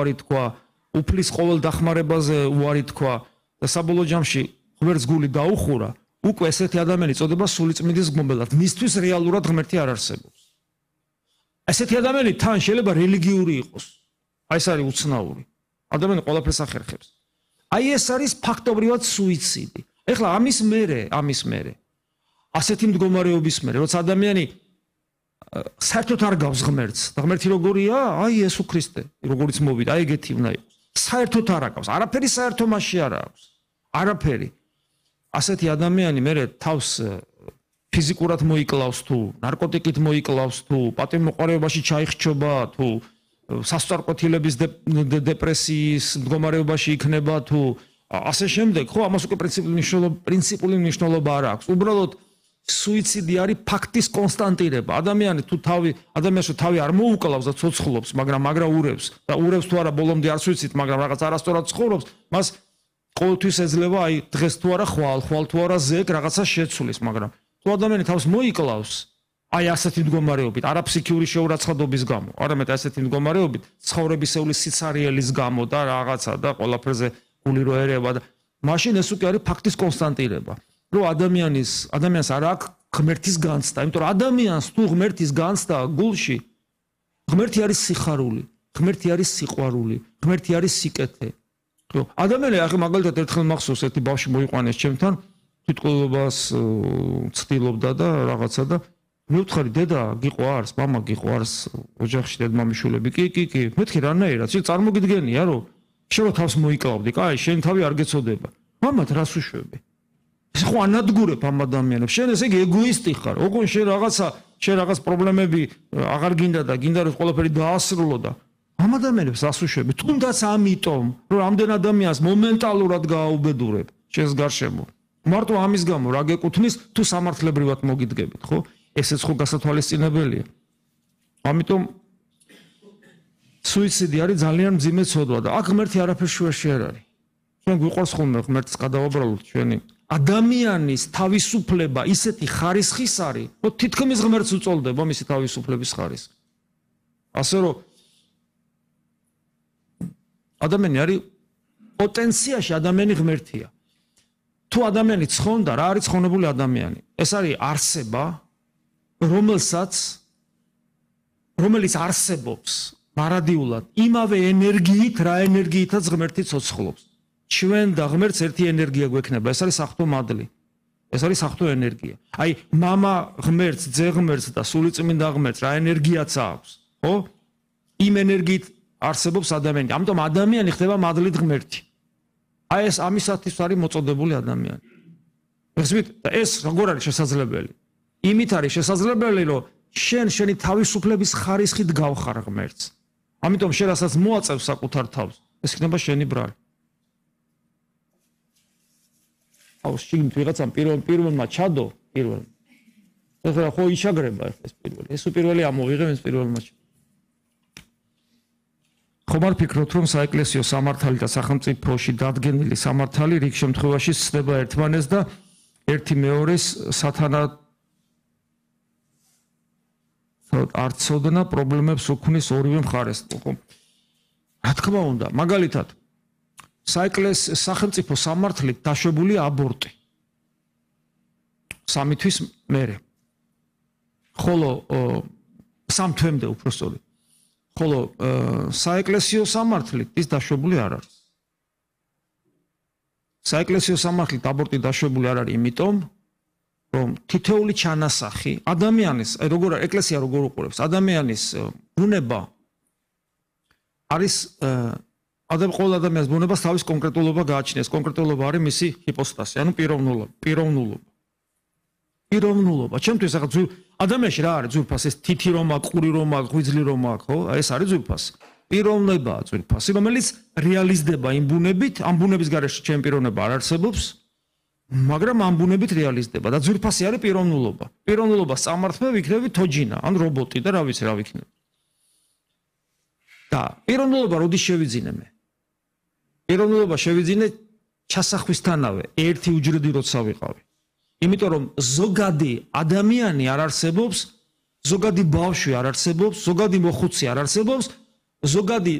უარი თქვა, უფლის ყოველ დახმარებაზე უარი თქვა და საბოლოო ჯამში ღმერთს გული დაუხურა, უკვე ესეთი ადამიანი წოდება სულიწმიდის გმობელად. მისთვის რეალურად ღმერთი არ არსებობს. ესეთი ადამიანი თან შეიძლება რელიგიური იყოს. აი ეს არის უცნაური. ადამიანი ყველაფერს ახერხებს. აი ეს არის ფაქტობრივად სუიციდი. ეხლა ამის მერე ასეთი მდგომარეობის მერე, როცა ადამიანი საერთოდ არ გავს ღმერთს და ღმერთი როგორია? აი იესო ქრისტე, როგორიც მოვიდა, აი ეგეთი უნდა იყოს. საერთოდ არ აკავს, არაფერი საერთო მასში არ აქვს. არაფერი. ასეთი ადამიანი მერე თავს ფიზიკურად მოიკლავს თუ, ნარკოტიკით მოიკლავს თუ, პატიმოყარეობაში ჩაიხჩობა თუ, სასწორკვეთილების დეპრესიის მდგომარეობაში იქნება თუ, ასე შემდეგ, ხო, ამას უკვე პრინციპული მნიშვნელობა არ აქვს. უბრალოდ სუიციდი არის ფაქტის კონსტანტირება. ადამიანს თუ თავი არ მოუკლავს და ცოცხლობს, მაგრამ урევს და урევს თუ არა ბოლომდე არ სუიციდს, მაგრამ რაღაც არასწორად ცხოვრობს, მას ყოველთვის ეძლევა აი დღეს თუ არა ხვალ თუ არა ზეგ რაღაცა შეცვლის, მაგრამ თუ ადამიანი თავს მოიკლავს, აი ასეთი მდგომარეობით, არა ფსიქიური შეურაცხყოფის გამო, არამედ ასეთი მდგომარეობით, ცხოვრებისეული სიცარიელის გამო და რაღაცა და ყველაფერზე გული რო ერევა და მაშინ ეს უკვე არის ფაქტის კონსტანტირება. რომ ადამიანს არ აქვს ღმერთის განცდა, იმიტომ რომ ადამიანს თუ ღმერთის განცდა გულში, ღმერთი არის სიხარული, ღმერთი არის სიყვარული, ღმერთი არის სიკეთე. რომ ადამიანი ახლა მაგალითად ერთხელ მახსოვს ერთი ბავშვი მოიყვანეს ჩემთან, თვითყოლობას ცდილობდა და რაღაცა და მე ვთხარი დედა გიყვარს, მამა გიყვარს, ოჯახში დედმამიშვილები, კი, მეთქი რანაირად, შენ წარმოგიდგენია რომ შენ თავს მოიკლავდი, კაი, შენ თავი არ გეცოდება. მამად რას უშვები? ეს ხო ანადგურებ ამ ადამიანებს. შენ ესე იგი ეგოისტი ხარ. ოღონდ შენ რაღაც პრობლემები აღარ გინდა და გინდა რომ ყველაფერი დაასრულო და ამ ადამიანებს რას უშვები? თუნდაც ამიტომ, რომ ამდენ ადამიანს მომენტალურად გააუბედურებ შენს გარშემო. მარტო ამის გამო რა გეკუთვნის თუ სამართლებრივად მოგიდგებით, ხო? ესეც ხო გასათვალისწინებელია. ამიტომ სუიციდი არის ძალიან მძიმე ცოდვა და აქ ღმერთი არაფერ შუაში არ არის. ჩვენ გვიყვარს ხოლმე ღმერთს გადავაბრალოთ ჩვენი ადამიანის თავისუფლება ისეთი ხარისხის არის, რომ თითქმის ღმერთს უწოლდება მისი თავისუფლების ხარისხი. ასე რომ ადამიანი არის პოტენციაში ადამიანი ღმერთია. თუ ადამიანი ცხონდა, რა არის ცხონებული ადამიანი? ეს არის არსება, რომელიც არსებობს მარადიულად იმავე ენერგიით, რა ენერგიითაც ღმერთი ცოცხლობს. ჩვენ და ღმერთს ერთი ენერგია გვექნება, ეს არის სახთო მადლი. ეს არის სახთო ენერგია. აი, მამა ღმერთს, ძე ღმერთს და სულიწმინდა ღმერთს რა ენერგიაც აქვს, ხო? იმ ენერგიით არსებობს ადამიანი. ამიტომ ადამიანი ხდება მადლით ღმერთი. აი ეს ამისათვის არის მოწოდებული ადამიანი. ხსვით, ეს როგორ არის შესაძლებელი? იმით არის შესაძლებელი, რომ შენი თავისუფლების ხარისხით გავხარ ღმერთს. ამიტომ შენ რასაც მოაწევს საკუთარ თავს, ეს იქნება შენი ბრალი. აუ შიგნით ვიღაცამ პირველმა ჩადო, პირველ. ეხლა ხო იშაგრება ეს პირველი. ეს პირველი ამოვიღებ ეს პირველმა. ხომ არ ფიქრობთ, რომ საეკლესიო სამართალი და სახელმწიფოში დადგენილი სამართალი რიგ შემთხვევაში ცდება ერთმანეთს და ერთი მეორეს სათანადო არცოდნა პრობლემებს უქმნის ორივე მხარეს, ხო? რა თქმა უნდა, მაგალითად, სახელმწიფო სამართლით დაშვებული აბორტი. 3 თვის მერე. ხოლო 3 თვემდე უბრალოდ. ხოლო საეკლესიო სამართლით ის დაშვებული არ არის. საეკლესიო სამართლით აბორტი დაშვებული არ არის, იმიტომ რომ თითოეული ჩანასახი ადამიანის, ეკლესია როგორ უყურებს, ადამიანის ბუნება არის ყოველ ადამიანის ბუნებას თავის კონკრეტულობა გააჩნიას. კონკრეტულობა არის მისი ჰიპოსტასი, ანუ პიროვნულობა. ჩემთვის ახლა ადამიანში რა არის ძვირფასი? ეს თითი რომ აქვს, ყური რომ აქვს, ღვიძლი რომ აქვს, ხო? ეს არის ძვირფასი. პიროვნებაა ძვირფასი, რომელიც რეალიზდება იმ ბუნებით, ამ ბუნების გარეშე ჩემი პიროვნება არ არსებობს. მაგრამ ამ ბუნებით რეალიზდება და ძვირფასი არის პიროვნულობა. პიროვნულობას წამართმევ იქნები თოჯინა, ან რობოტი და რა ვიცი რა ვიქნები. და პიროვნულობა როდის შევიძინე მე? პიროვნულობა შევიძინე ჩასახვისთანავე, ერთი უჯრედი როცა ვიყავი. იმიტომ რომ ზოგადი ადამიანი არ არსებობს, ზოგადი ბავშვი არ არსებობს, ზოგადი მოხუცი არ არსებობს, ზოგადი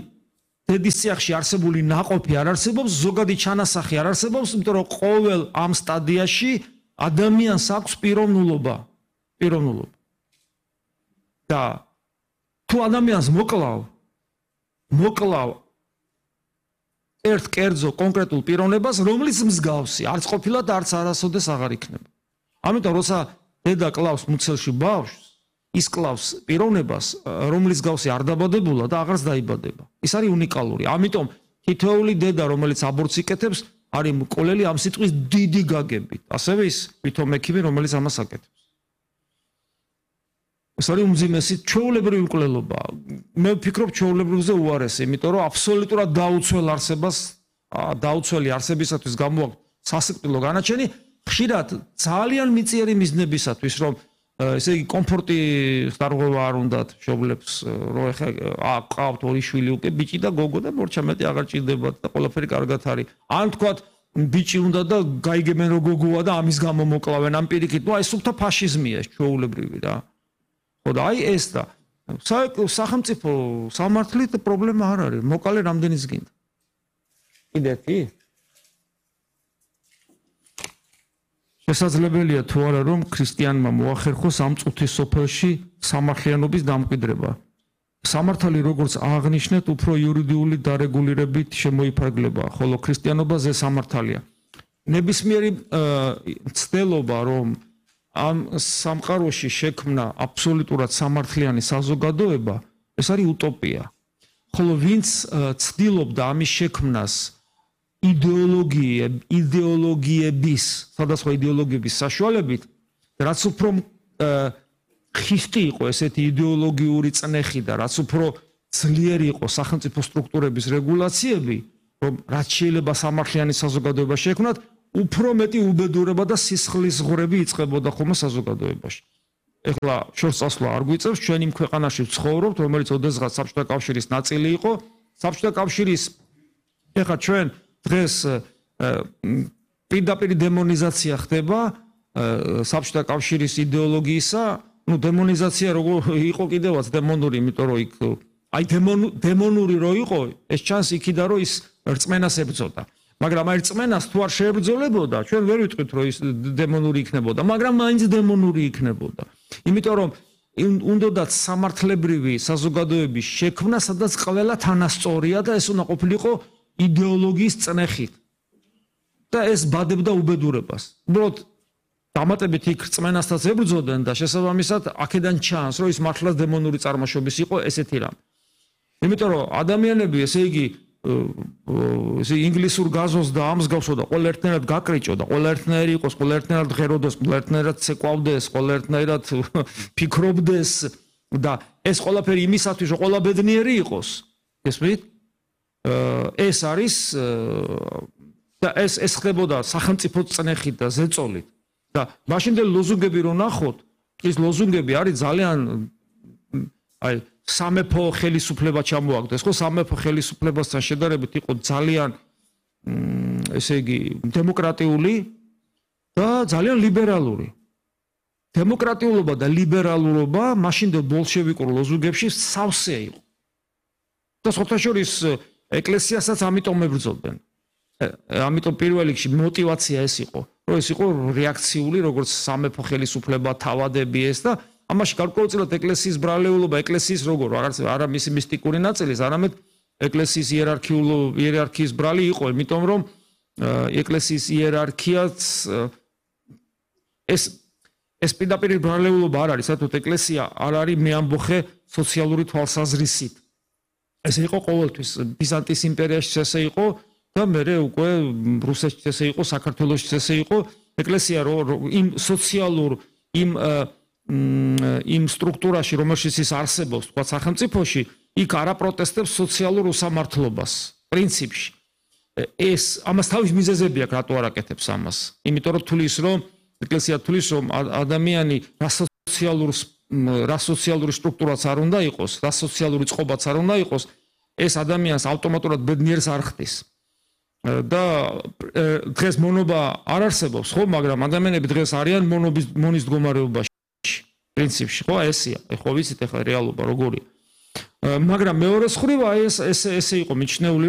დედის ციახში არსებული ნაყოფი არ არსებობს, ზოგადი ჩანასახი არ არსებობს, იმიტომ რომ ყოველ ამ სტადიაში ადამიანს აქვს პიროვნულობა. და თუ ადამიანს მოკლავ ერთ კერძო კონკრეტულ პიროვნებას, რომლის მსგავსი არც ყოფილად არც არასოდეს აღარ იქნება. ამიტომ როცა დედა კლავს მუცელში ბავშვს, ის კლავს პიროვნებას, რომლის მსგავსი არ დაბადებულა და აღარც დაიბადება. ის არის უნიკალური. ამიტომ თითოეული დედა, რომელიც აბორტს იკეთებს, არის მკვლელი ამ სიტყვის დიდი გაგებით. ასევე ის თვითონ მექიმი, რომელიც ამას აკეთებს. ეს არის უმძიმესი ჩვეულებრივი მკვლელობა. მე ვფიქრობ ჩვეულებრივზე უარესი, იმიტომ რომ აბსოლუტურად დაუცველი არსებისათვის გამოაქვს სასიკვდილო განაჩენი, ხშირად ძალიან მიწიერი მიზნებისათვის, რომ ესე იგი კომფორტი ხდარღვევა არ უნდათ შობლებს, რომ ეხა აყავთ ორი შვილი უკვე ბიჭი და გოგო და მორჩა მეტი აღარ ჭირდებათ და ყველაფერი კარგად არის. ან თქვათ ბიჭი უნდა და გაიგებენ რომ გოგოა და ამის გამო მოკლავენ ამ პირიქით. ნუ აი სულთა ფაშიზმია ეს ჩვეულებრივი რა. ხო და აი ეს და სახელმწიფო სამართლით პრობლემა არ არის. მოკალე რამდენის გინდა. კიდეთი? შესაძლებელია თუ არა რომ ქრისტიანმა მოახერხოს ამ წუთის სოფელში სამართლიანობის დამკვიდრება. სამართალი როგორც აღნიშნეთ, უფრო იურიდიული დარეგულირებით შემოიფარგლება, ხოლო ქრისტიანობაზე სამართალია. ნებისმიერი ცდელობა რომ ამ სამყაროში შექმნა აბსოლუტურად სამართლიანი საზოგადოება, ეს არის უტოპია. ხოლო ვინც ცდილობდა ამის შექმნას იდეოლოგიების, სხვადასხვა იდეოლოგიების საშუალებით, რაც უფრო ხისტი იყო ესეთი იდეოლოგიური წნეხი და რაც უფრო ძლიერი იყო სახელმწიფო სტრუქტურების რეგულაციები, რომ რაც შეიძლება სამართლიანი საზოგადოება შექმნათ, უფრო მეტი უბედურება და სისხლისღვრები იწყებოდა ხოლმე საზოგადოებაში. ეხლა შორს წასვლა არ გვიწევს, ჩვენ იმ ქვეყანაში ვცხოვრობთ, რომელიც ოდესღაც საბჭოთა კავშირის ნაწილი იყო. საბჭოთა კავშირის ეხლა ჩვენ დღეს პირდაპირ დემონიზაცია ხდება საბჭოთა კავშირის იდეოლოგიისა, ну დემონიზაცია როგორ იყო კიდევაც დემონური, იმიტომ რომ იქ აი დემონური რო იყო, ეს ჩანს იქიდან რომ ის რწმენას ებრძოდა. მაგრამ აი რწმენას თუ არ შეებრძოლებოდა, ჩვენ ვერ ვიტყვით რომ ის დემონური იქნებოდა, მაგრამ მაინც დემონური იქნებოდა. იმიტომ რომ უნდათ სამართლებრივი საზოგადოების შექმნა, სადაც ყველა თანასწორია და ეს უნდა ყოფილიყო იდეოლოგიის წნეხით. და ეს ბადებდა უბედურებას. უბრალოდ დამატებით იქ რწმენასაც ებრძოდნენ და შესაბამისად აქედან ჩანს, რომ ის მართლაც დემონური წარმოშობის იყო ესეთი რამ. იმიტომ რომ ადამიანები, ესე იგი, ინგლისურ გაზოს და ამ მსგავსოდა, ყველა ერთნაირად გაკრიჭოდა, ყველა ერთნაირი იყოს, ყველა ერთნაირად ღეროდეს, ყველა ერთნაირად ცეკვავდეს, ყველა ერთნაირად ფიქრობდეს და ეს ყველაფერი იმისათვის, რომ ყველა ბედნიერი იყოს. გესმით? ეს არის და ეს ხდებოდა სახელმწიფო წნეხით და ზეწოლით. და მაშინდელი ლოზუნგები რო ნახოთ, ის ლოზუნგები არის ძალიან აი სამეფო ხელისუფლება ჩამოაგდეს, ხო სამეფო ხელისუფლებასთან შედარებით იყო ძალიან ესე იგი დემოკრატიული და ძალიან ლიბერალური. დემოკრატიულობა და ლიბერალურობა მაშინდელ ბოლშევიკურ ლოზუნგებში სავსე იყო. და სხვათაშორის ეკლესიასაც ამიტომ ებრძოდნენ. ამიტომ პირველ რიგში мотиваცია ეს იყო, რომ ეს იყო რეაქციული, როგორც სამეფო ხელისუფლება, თავადები ეს და ამაში გარკვეულწილად ეკლესიის ბრალეულობა, ეკლესიის როგორ არა მისი მისტიკური ნაწილი, არამედ ეკლესიის იერარქიის ბრალი იყო, იმიტომ რომ ეკლესიის იერარქიაც ეს პირდაპირ ბრალეულობა არ არის, საერთოდ ეკლესია არ არის მეამბოხე სოციალური თვალსაზრისით. ეს იყო ყოველთვის ბიზანტიის იმპერიაში ესე იყო და მერე უკვე რუსეთში ესე იყო, საქართველოში ესე იყო. ეკლესია იმ სოციალურ იმ სტრუქტურაში, რომელშიც ის არსებობს, თქვა სახელმწიფოში, იქ არ აპროტესტებს სოციალურ უსამართლობას პრინციპში. ეს ამას თავის მიზეზები აქვს, რატო არ აკეთებს ამას? იმიტომ რომ თulis რომ ეკლესია თulis რომ ადამიანი რა სოციალური სტრუქტურაც არ უნდა იყოს, რა სოციალური წყობაც არ უნდა იყოს, ეს ადამიანს ავტომატურად ბედნიერს არ ხდის. და დღეს მონობა არ არსებობს, ხო, მაგრამ ადამიანები დღეს არიან მონის მდგომარეობაში. პრინციპში, ხო, ესია. ხო, ვიცით ახლა რეალობა როგორია. მაგრამ მეორე მხრივ აი ეს ესე იყო მიჩნეული